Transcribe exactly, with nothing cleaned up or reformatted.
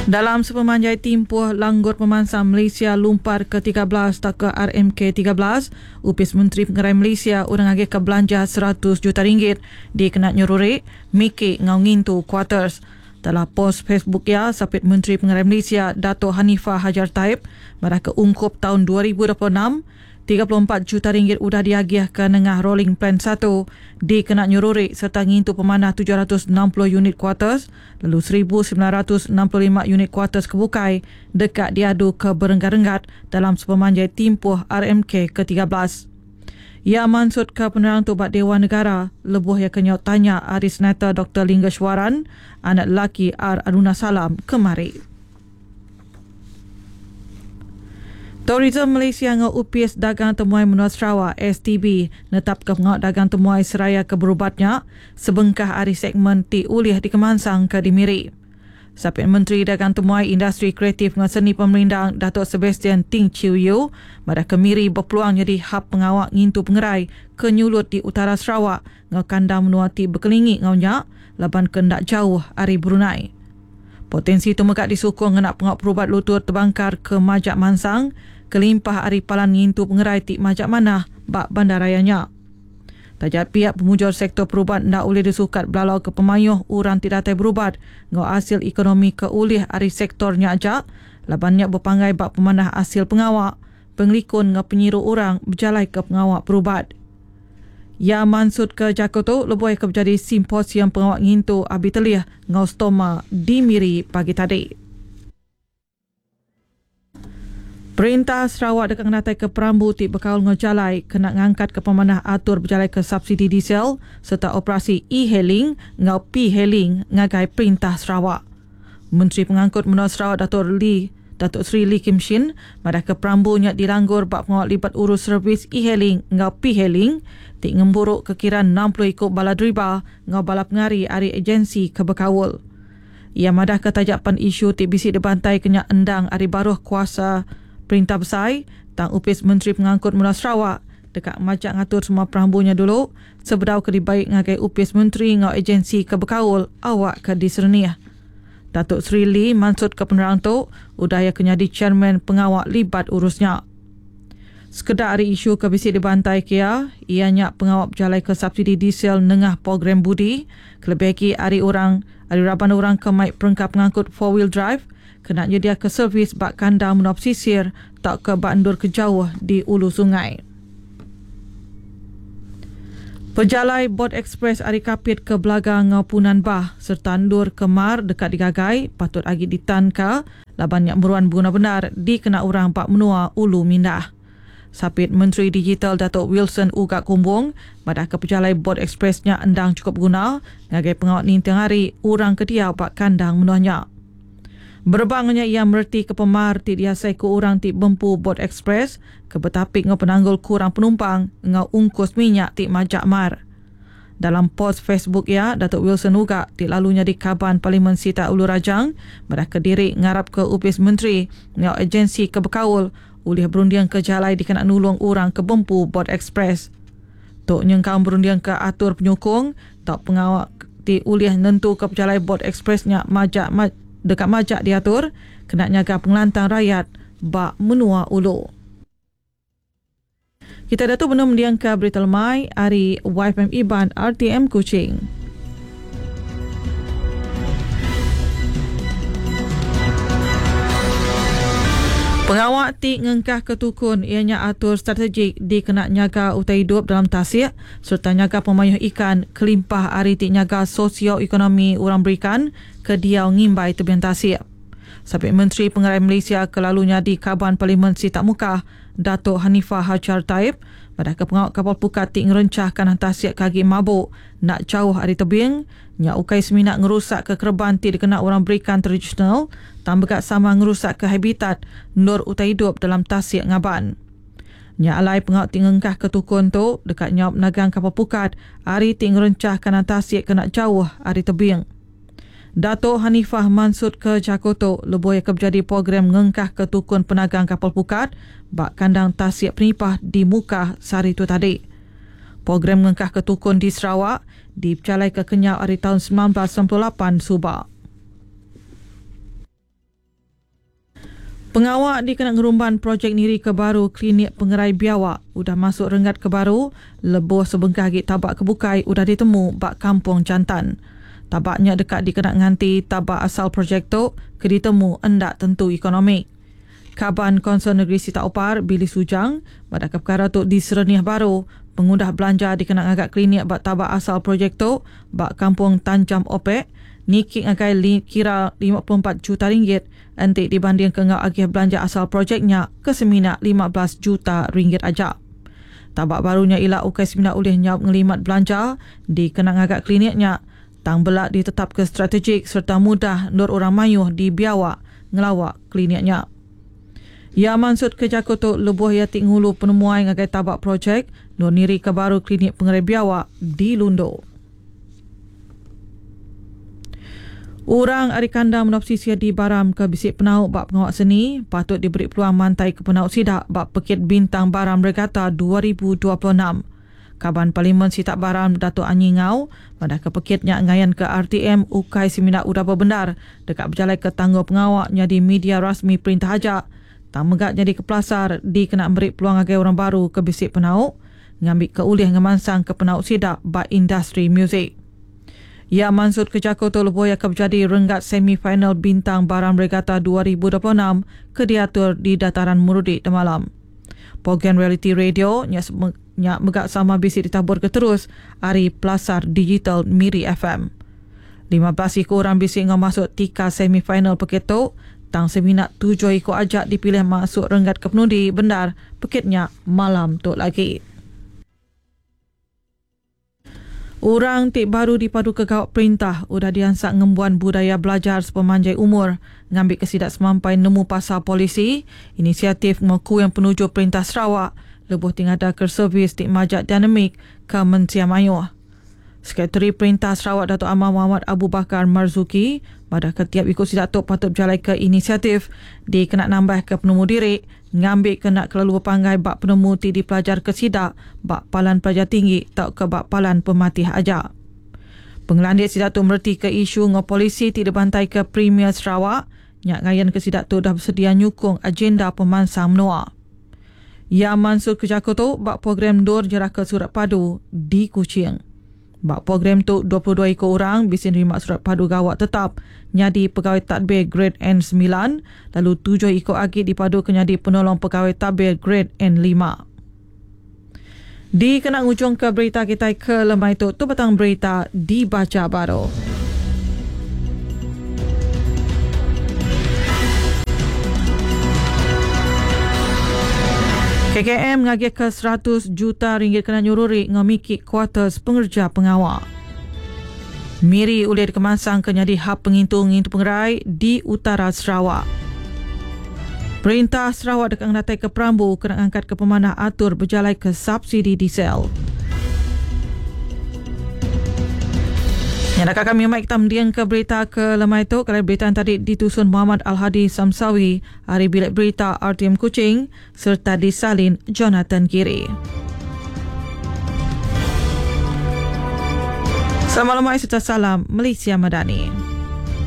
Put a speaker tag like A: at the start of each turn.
A: Dalam sepemanjai timpuh Langgur Pemansang Malaysia Lumpar ke tiga belas atau ke R M K tiga belas, Upis Menteri Pengerai Malaysia urang agih ke belanja seratus juta ringgit dikena nyeruri Miki ngau ngintu quarters. Dalam post Facebook ya, Sapit Menteri Pengerai Malaysia Dato' Hanifah Hajar Taib madah ke ungkup tahun dua ribu dua puluh enam, tiga puluh empat juta ringgit udah diagih ke nengah Rolling Plan satu dikena nyeruri serta ngintu pemanah tujuh ratus enam puluh unit quarters lalu seribu sembilan ratus enam puluh lima unit quarters kebukai dekat diadu ke berenggat-renggat dalam sepemanjai timpuh R M K ke tiga belas. Ia mansut ke penerang tu bak Dewan Negara lebuh ia kenyau tanya ari Senator Doktor Linggeswaran anak lelaki R Aruna Salam kemari. Tourism Malaysia ngau Upis Dagang Temuai Menua Sarawak S T B netap ke pengawal dagang temuai seraya ke berubatnya sebengkah ari segmen ti ulih dikemansang ke dimiri. Sapit Menteri Dagang Temuai Industri Kreatif dengan Seni Pemerindang Datuk Sebastian Ting Chiu Yu madah ke Miri berpeluang jadi hub pengawal ngintu pengerai ke nyulut di utara Sarawak ngau kandang menua ti berkelingi ngau nya laban kendak jauh ari Brunei. Potensi tu megak disukung ngena pengawal perubat lutut terbangkar ke Majak Mansang kelimpah ari palan ngintu pengerai ti Majak Manah bak bandarayanya. Tajat pihak pemujur sektor perubat ndak boleh disukat belalau ke pemayuh orang tidak datai berubat ngau hasil ekonomi ke ulih ari sektornya aja labannya berpanggai bak pemanah hasil pengawak pengelikun ngau penyiru orang berjalai ke pengawak perubat. Ya mansut ke Jakoto lebih ke menjadi simposium pengawak ngintu abi telih ngau stoma di Miri pagi tadi. Perintah Sarawak dekat ngenatai ke perambu ti bekaul ngau jalai kena ngangkat ke pemanah atur berjalai ke subsidi diesel serta operasi e-hailing ngau p-hailing ngagai Perintah Sarawak. Menteri Pengangkut Menua Sarawak Datuk Lee Datuk Seri Lee Kim Shin madah ke perambunya dilanggur bak pengawal libat urus servis e-hailing ngau p-hailing ti ngemburuk kekiraan enam puluh ikut bala deriba ngau bala pengari ari agensi kebekaul. Ia madah ke tajapan isu ti bisi dibantai kenya endang ari baruh kuasa Perintah Besai, tang Upis Menteri Pengangkut Menua Sarawak dekat majak ngatur semua perambunya dulu sebedau ke dibaik ngagai Upis Menteri ngau agensi kebekaul awak ke diserniah. Datuk Seri Lee mansut ke penerang tu udah ia kenyadi chairman pengawal libat urusnya. Sekedar hari isu ke bisi dibantai kia, ianya pengawal berjalai ke subsidi diesel nengah program budi, kelebih hari orang, hari raban orang ke maik perengkap pengangkut four wheel drive, kena nyedia ke servis bak kandang menua pesisir tak ke bak endur ke jauh di ulu sungai. Pejalai Bot Express ari Kapit ke Belaga ngau Punan Bah serta endur ke Mar dekat digagai patut agi ditanka laban nyak meruan guna benar dikena orang bak menua ulu mindah. Sapit Menteri Digital Datuk Wilson Ugak Kumbong madah ke pejalai Bot Expressnya endang cukup guna ngagai pengawal ninting hari orang kedia bak kandang menuanya. Berbangnya ia merti ke pemar ti diasai ke orang ti bempu Bot Express ke betapik ngau penanggul kurang penumpang ngau ungkus minyak ti majak mar. Dalam post Facebook ia, Datuk Wilson Ugak ti lalunya di Kaban Parlimen Sita Ulu Rajang madah ke diri ngarap ke Upis Menteri ngau agensi ke bekaul ulih berundiang ke jalai dikena nulung orang ke bempu Bot Express. Tok nyengkau berundiang ke atur penyokong tak pengawak ti ulih nentu ke pejalai Bot Expressnya majak ma-, dekat majak diatur kena nyaga pengelantang rakyat bak menua ulu. Kita dah tu benar mendiang ke berita lemai ari Y F M Iban R T M Kuching. Pengawak ti ngengkah ketukun ianya atur strategik dikena nyaga utai hidup dalam tasik serta nyaga pemayuh ikan kelimpah ari ti nyaga sosioekonomi orang berikan ke diau ngimbai tebian tasik. Sapit Menteri Pengerai Malaysia kelalunya di Kaban Parlimen Sitak Mukah, Datuk Hanifah Hajar Taib, pada ke pengawak kapal pukat ti ngerencahkan tasik kagi mabuk nak jauh ari tebing, nya ukai seminak ngerusak ke kerban ti dikena orang berikan tradisional, tambah kat sama ngerusak ke habitat nur utai hidup dalam tasik ngaban. Nya alai pengawak ti ngengkah ke tukun tu dekat nyaup nagang kapal pukat ari ti ngerencahkan tasik kena jauh ari tebing. Datuk Hanifah Mansud ke Jakoto lebih ke berjadi program ngengkah ke tukun penagang kapal pukat bak kandang tasik penipah di Mukah sehari tu tadi. Program ngengkah ke tukun di Sarawak dipercalai ke Kenyau hari tahun sembilan belas sembilan puluh lapan Subak. Pengawak dikena ngerumban projek niri ke baru klinik pengerai biawak udah masuk renggat ke baru lebuh sebengkah agi tabak kebukai udah ditemu bak Kampung Jantan. Tabaknya dekat dikena nganti tabak asal projek tu ke ditemu endak tentu ekonomi. Kaban Konsol Negeri Sita Opar, Billy Sujang, pada perkara tu disereniah baru pengudah belanja dikena ngagak klinik bak tabak asal projek tu bak Kampung Tanjam Opek niki ngagai li, kira lima puluh empat juta ringgit enti dibanding ke ngau agih belanja asal projeknya ke semina lima belas juta ringgit aja. Tabak barunya ila ukai semina ulih nyaup ngelimat belanja dikena ngagak kliniknya tang belak ditetap ke strategik serta mudah nur orang mayuh di biawak ngelawak kliniknya. Ya maksud ke jaku tu lebuh ia ti ngulu penemuai ngagai tabak projek nur niri ke baru klinik pengerai biawak di Lundu. Orang ari kandang menopsisia di Baram ke bisik penau bak pengawak seni patut diberi peluang mantai ke penau sidak bak Pekit Bintang Baram Regata dua ribu dua puluh enam. Kaban Parlimen Sitak Baram Datuk Anyi Ngau pada ke pekitnya ngayan ke R T M ukai semina udah berbendar dekat berjalan ke tangguh pengawak jadi media rasmi perintah ajak tang megak jadi ke pelasar di kena beri peluang agai orang baru ke bisik penau ngambil ke ulih ngemansang ke penau sidak bak industri muzik. Ya maksud ke jako tu lebuh ia ke berjadi renggat semifinal Bintang Baram Regata dua ribu dua puluh enam ke diatur di dataran Murudik temalam. Program reality radio nya nya megak sama bisik ditabur ke terus ari Pelasar Digital Miri F M. lima belas iku orang bisik ngau masuk tika semifinal pekit tu, tang semina tujuh iku ajak dipilih masuk renggat ke penudi bendar pekitnya malam tu lagi. Orang ti baru dipadu ke gawak perintah udah diansak ngembuan budaya belajar sepemanjai umur ngambil ke sidak semampai nemu pasal polisi inisiatif mengaku yang penuju perintah Sarawak lebuh tingada ke servis ti majak dinamik ke Mensia Mayuh. Sekretari Perintah Sarawak Datuk Amar Muhammad Abu Bakar Marzuki pada ketiap ikut sidak tu patut berjalan ke inisiatif di kena nambah ke penemu diri ngambil kena kelalu berpanggai bak penemu ti dipelajar ke sidak bak palan pelajar tinggi tau ke bak palan pematih aja. Pengelandik sidak tu merti ke isu ngau polisi ti dibantai ke Premier Sarawak nyak ngayan ke sidak tu dah bersedia nyukung agenda pemansang menua. Ya Mansur Kejako tu bak program Dor Jerah ke Surat Padu di Kuching. Bak program tu dua puluh dua ekor orang bisa nerima surat padu gawak tetap nyadi pegawai tadbir grade N sembilan lalu tujuh ekor agi dipadu ke nyadi penolong pegawai tadbir grade N lima. Di kena ngujung ke berita kita ke lemai tu, tu petang berita dibaca baru. K K M ngagih ke seratus juta ringgit kena nyururi ngemiki kuarters pengerja pengawal. Miri ulih dikemasang ke nyadi hub pengintu ngintu pengerai di utara Sarawak. Perintah Sarawak dekat ngenatai ke perambu kena angkat ke pemanah atur berjalai ke subsidi diesel. Yang nak kami mai kita mendiang ke berita ke lemai tu. Kalau berita yang tadi ditusun Muhammad Al-Hadi Samsawi hari bilik berita R T M Kuching serta disalin Jonathan Kiri. Selamat lemai serta salam Malaysia Madani.